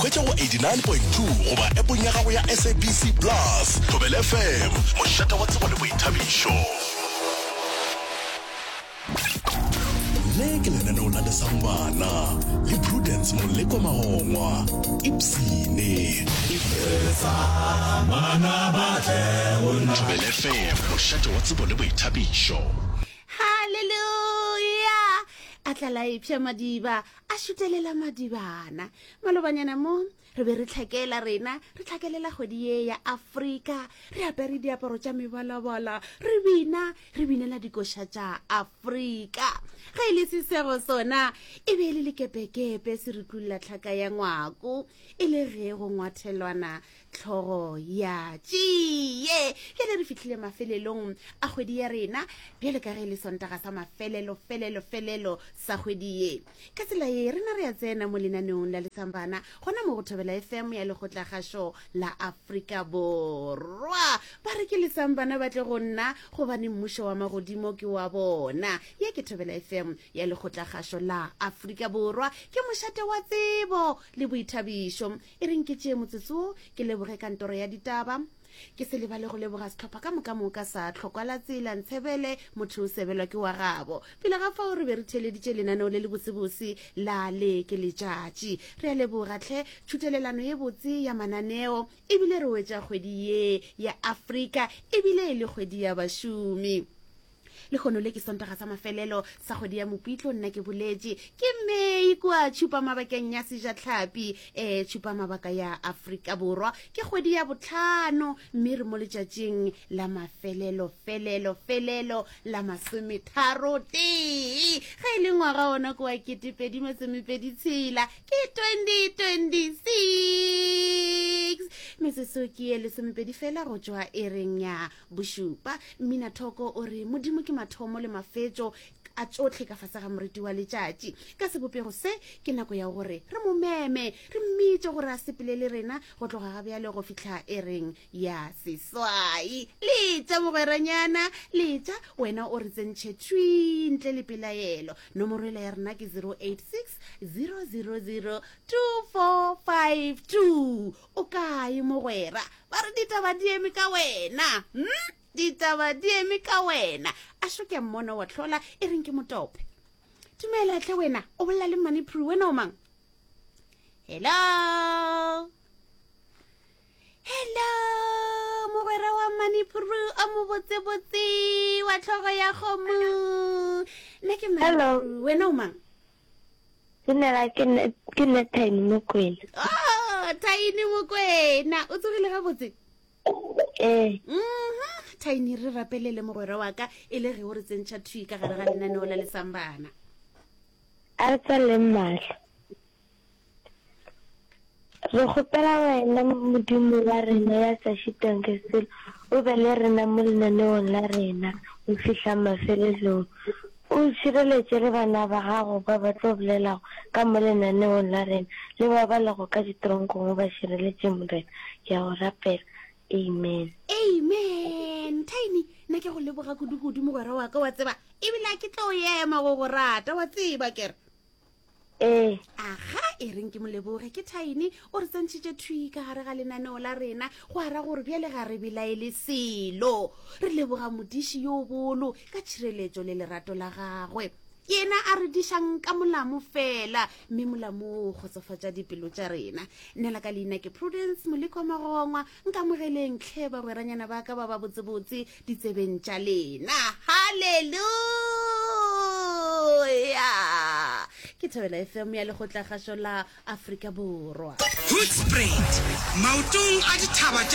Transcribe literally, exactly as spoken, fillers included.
Hwetša go eighty-nine point two goba appong ya gago ya S A B C Plus. Thobela F M, mošate wa tsebo le boithabišo. Le ke lenaneo la Lesang Bana le Prudence Molekwa Magongwa. Ipsene. Thobela F M, mošate wa tsebo le boithabišo. Halleluja! A tlala epša madiba, a šutelela madibana. Malobanyana mo re be re tlhakela rena, re tlhakelela kgwedi ye ya Afrika, re apere diaparo tša mebalabala, re bina, re binela dikoša tša Afrika. Ge e le sesego sona, e be e le lekepekepe se re tlulla tlhaka ya ngwako, e le ge go ngwathelwana hlogo ya tšie. Bjale re fihlile mafelelong a kgwedi ya rena, bjale ka ge e le Sontaga sa mafelelo felelo felelo sa kgwedi ye. Ka tsela ye rena re a tsena mo lenaneong la Lesambana gona mo go Thobela F M ya Lekgotlakgašo la Afrika Borwa. Ba re ke Lesambana ba tle go nna, gobane mmušo wa magodimo ke wa bona. Ye ke Thobela F M ya Lekgotlakgašo la Afrika Borwa, ke mošate wa tsebo le boithabišo. E reng ke tšee motsotso ke leboge kantoro ya ditaba, ke se lebale go leboga sehlopha ka moka moka sa Tlhokwa la Tsela. Ntshebele motho o sebelwa ke wa gabo. Pele ga fao re be re theeleditše lenaneo le le botsebotse la Le ke Letšatši. Re a leboga tlhe tšhutelelano ye botse ya mananeo, ebile re wetša kgwedi ye ya Afrika ebile e le kgwedi ya bašomi. Lehono le ke Sontaga sa mafelelo sa kgwedi ya Mopitlo. Nna ke boletše ke Mei kua tšhupa mabakeng ya Sejatlhapi, um tšhupa mabaka ya Afrika Borwa. Ke kgwedi ya botlhano, mme re mo letšatšing la mafelelo felelo felelo la masometharo tee. Ge e le ngwaga ona ke wa ketepedi masomepedi tshela, ke twenty twenty-six. Metsotso ke ye lesomepedi fela go tšwa e reng ya bošupa. Mmina thoko o re Modimo ke mathomo le mafetšo a tšohle ka fase ga moriti wa letšatši. Ka sebopego se ke nako ya gore re mo meme, re mmitše gore a sepele le rena go tloga ga bjale go fihla e reng ya seswai. Letša mogweranyana, letša wena o re tsentšhe thwi ntle le pelaelo. Nomoro ela ya rena ke zero eight six zero zero zero two four five two. O kae mogwera? Ba re ditaba di eme ka wena, hmm? Ditaba di eme ka wena. A šoke mmono wa tlhola e reng ke motope. Dumela tle wena, o bolela le Manipru. Wena o mang? Hello, hello mogwera wa Manipru o mobotsebotse wa tlhogo ya kgomo. Nna ke Hello. Manipru, wena o mang? Dumela, ke nne ke nne Tiny Mokwena. Oh, Tiny Mokwena, o tsogile gabotse? Ee. Mhm tiny, re rapelele mogwera wa ka e le ge o re tsentšha thwi ka gare ga lenaneo la Lesambana. A re tswaleng mahlo. Re kgopela wena Modimo wa rena ya sa šitweng ke selo, o be le rena mo lenaneong la rena go fihla mafelelong. O šireletše le bana ba gago ba ba tlo bolelago ka mo lenaneong la rena, le ba ba lego ka ditronkong o ba šireletše Morena. Ke a go rapela. Amen. Amen. Tiny, nna ke go leboga kudu-kudu mogwera wa ka, wa tseba ebile a ke tlo ema go go rata, wa tseba kere. Ee. Aga, e reng ke moleboge ke Tiny, o re tsentšhitše thwi ka gare ga lenaneo la rena, go ara gore bjale ga re belaele selo. Re leboga modiši yo bolo ka tšhireletšo le lerato la gagwe, yena a re dišang ka molamo fela, mme molamo o kgotsofatša dipelo tša rena. Nna la ka leina ke Prudence Molekwa Magongwa. Nkamogeleng tlhe bagweranyana ba ka ba ba botsebotse ditsebeng tša lena. Halleluja! Ke Thobela F M ya Lekgotlakgašo la Afrika Borwa. Hoedspruit, maotong a dithaba tša